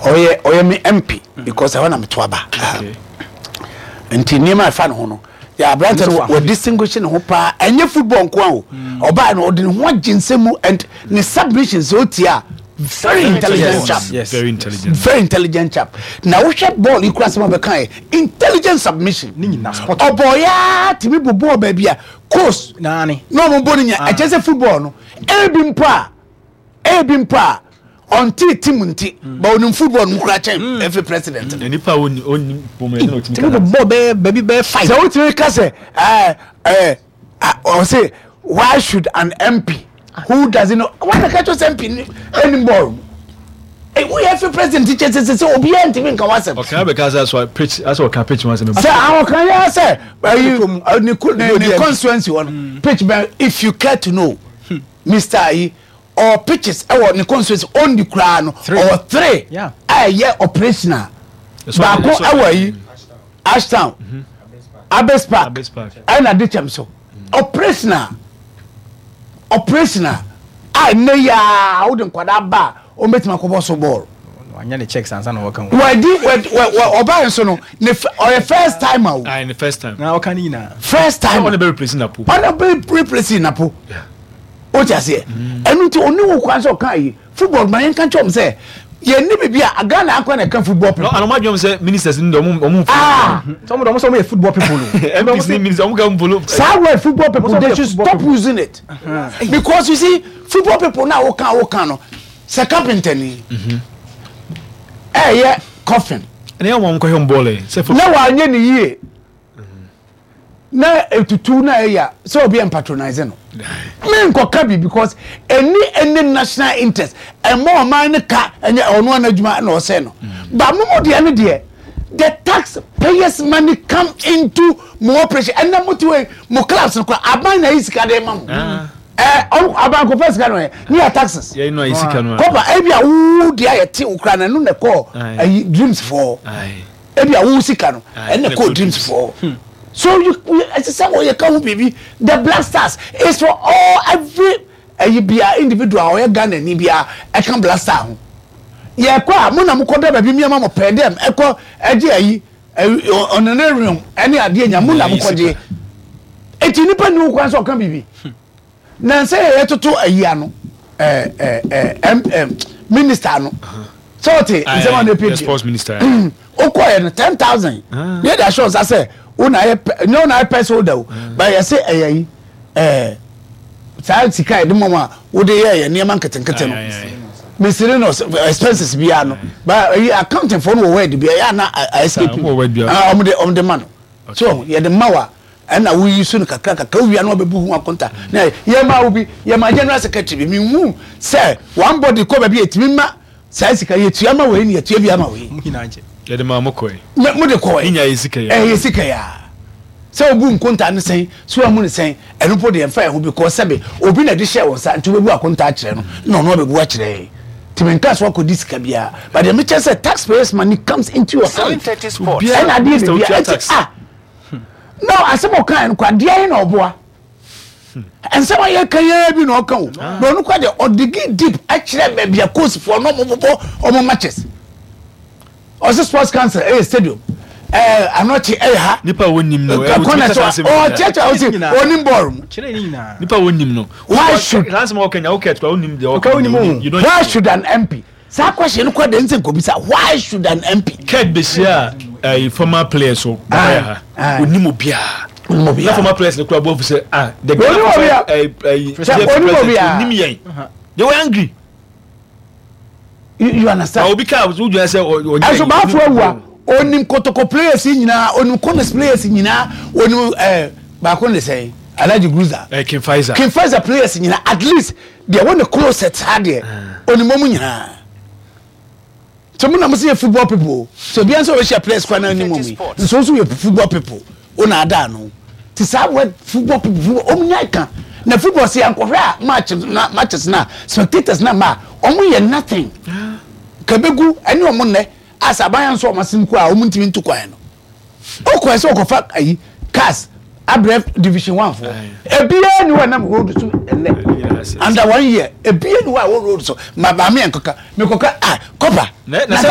Ɔyɛ ɔyɛ me MP because ɛhɔ na meto aba. Nti nneɛma a ɛfa ne ho no, yɛ aberante no wɔ distinguish ne ho paa. Ɛnyɛ football nko a o. Ɔbaa no ɔde ne ho agye nsɛm mu and ne submissions sɛ otie a, very intelligent chap. Yes. Very intelligent. Very intelligent chap. Na wohwɛ bɔɔl yi kura sɛm a ɔbɛka yɛ intelligent submission. Ne nyinaa spot on. Ɔbɔɔ yaa tumi bɔ bɔɔl baabi a coast Naane. na ɔmo bɔ no nya. Ɛkyɛ sɛ football no ebi mpo a ebi mpo a ɔnte team nti, but onim football no kura kyɛn efi president no. Nipa a ɔnni ɔnni bɔn mu ɛna ɔtumi Tumi bɔ bɔɔl bɛyɛ baabi bɛyɛ five. Sɛ wotumi ka sɛ ɛɛ ɛɛ ɔse why should an MP who doesn't know wɔn na kɛtɔ sɛ MP ni ɛnim bɔɔl mu woyɛ efi president kyɛ sɛ sɛ obiara ntumi nka wasɛm. Ɔkan bɛka sɛ asɔ pitch asɛ ɔka pitch wɔn asɛm. Sɛ ahokan yɛ sɛ ɛyi ne constituency hɔ no pitch bɛn, if you care to know, Mr ayi ɔwɔ pitches ɛwɔ ne constituency ɔndi koraa no, ɔwɔ three a ɛyɛ operational. Baako ɛwɔ ayi Ashtown, Abes Park ɛna Dikyɛm so operational a nnɛ yi a wode nkwadaa ba a wɔbɛtumi akɔbɔ so bɔɔl. Wanyɛ ne checks ansa na wɔka ho. Wadi wɔ ɔbaa nso no ne ɔyɛ first time o. Ayi ne first time. Na ɔka ne nyinaa. First time. Ɔna bɛ replace Napo. Ɔna bɛ replace Napo. O ti aseɛ, ɛnu nti oni wo kwan sɛ ɔka yi football ma yɛn ka kyɛn sɛ yɛn ni bibi a Ghana akɔ na ɛka football people. Anam adwom sɛ ministers ni de ɔmo ɔmo nfolo. Ah, sɛ ɔmo de ɔmo sɛ ɔmo yɛ football people o. MPs ni ministers ɔmo ka nfolo. Saa word football people, they should stop using it because you see, football people na woka woka no sɛ carpenter ni ɛyɛ coffin. Ɛnna yɛ wɔn nkɔhwɛ bɔɔl yɛ sɛ. Na wanyɛ ne yie na etutu na ɛyɛ sɛ obi yɛn patronize no me nkɔka bi because ɛni ɛni national interest ɛmɔ ɔman ne ka ɛnyɛ ɔno ana adwuma ɛna ɔsɛ no, but mo mo deɛ ne deɛ the tax payers money come into mo operation. Ɛnna mo ti wɔ mo clubs no kora, aban na ayi sika de ma mo. Ɛ ɔno aban kɔfɛ sika no yɛ ne yɛ taxes. Yɛn no ayi sika no. Kɔpa ebi a wo deɛ ayɛ te wo kora na ɛno na ɛkɔɔ ayi Dreams fɔ, ebi a wo sika no ɛna kɔɔ Dreams fɔ. So you ɛsɛ sɛ wɔyɛ ka ho biribi. The Black Stars is for all, every ɛyi bia individual a ɔyɛ Ghana ni bia ɛka Black Star ho. Yɛ kɔ a mo na mo kɔ dɛ baabi mi ama mo pɛɛ dɛm ɛkɔ ɛgye ayi honorarium ɛne adeɛ nya mo na mo kɔ gye eti nipa ni wo kwan sɛ ɔka biribi na nsɛ yɛ yɛtoto ayi ano ɛɛ ɛɛ ɛm ɛm minister ano sɛ ɔte nsɛm a na epe. Sports minister. Okɔ yɛ no 10,000 ne yɛ de ahyɛ ɔsa sɛ wo na ayɛ pɛ nyɛ wo na ayɛ purse holder o, ba yɛ sɛ ɛyɛ yi saa sika yɛ de mɔmɔ a wode yɛ yɛ nneɛma nketenkete no miscellaneous expenses biara no, ba ɛyi accounting fo no wɔ word bi ɛyɛ ana escape ɔmo de ma no so yɛ de ma wa ɛna woyi so no kakra kakra wia no ɔbɛbu ho akonta na yɛ ma wo bi yɛ ma general secretary bi mi hu sɛ one body kɔ baabi etimi ma saa sika yɛtua ma wei ne yɛtua bi ama wei. Mo nyinaa gye. Yɛde maa mo kɔe. Mo de kɔe. Ne nyinaa yɛ sika yi. Ɛyɛ sika yi a sɛ obu nkonta ne sɛn so amu ne sɛn, ɛno po deɛ mfa ɛho because sɛbe obi na de hyɛ wɔn nsa nti wobɛbu akonta akyerɛ no na ɔno abɛbu akyerɛ yɛn nti menka so akɔdi sika biara, but deɛ mekyɛ sɛ taxpayers money comes into your hand ɛna adeɛ biribi a ɛti ah no asɛm ɔka no kɔ adeɛ yi na ɔboa nsɛm a yɛka yɛn bi na ɔka o na ɔno kɔ deɛ ɔdigi deep akyerɛ baabi a coastfoɔ na ɔmo bobɔ ɔmo matches. Ɔsɛ sports council ɛyɛ stadium anɔkye ɛyɛ ha. Nipa a wonim no ɛwɔ tumi kasa asɛm nyinaa. Ɔkyerɛkyerɛ ɔsɛ onim bɔɔl mu. Kyerɛ ne nyinaa. Nipa a wonim no. Why should saa nsɛm a ɔka nya wokɛ tura wonim deɛ ɔka wonim. Why should an MP saa question no kɔ de nsɛ nkobisa why should an MP. Kurt behyia ɛyi former players so baba yɛ ha onim obiara. Na former players no kura bɔ fi sɛ ah the Ghana ɛyi ɛyi president onim yɛn, they were angry. You understand? Obi ka o gyina sɛ ɔnyɛ. Ɛso baafo awu a onim Kotoko players nyinaa, onim Corners players nyinaa, onim baako ne sɛn Alhaji Gruza. King Faisal. King Faisal players nyinaa, at least deɛ wɔn ne closet ha deɛ onim wɔn nyinaa. So mo na mo sɛ yɛ football people, so obiara nso ɔbɛhyia players kwan na anim wɔn yi nso nso yɛ football people o na ada ano ti saa word football people, football wɔn nya ka na football sɛ yankɔhwɛ a match na matches na spectators na ma wɔn yɛ nothing kabegu ɛne wɔn nnɛ asa aban nso wɔn asen kɔ a wɔn ntumi ntu kwan no okɔ ɛsɛ ɔkɔfa ayi cars abrɛ Division One fo ebiara ni hɔ ɛnam road so ɛnɛ under one year, ebiara ni hɔ a wɔ road so ma maame yɛn kɔka mekɔka ah kɔpa na sɛ.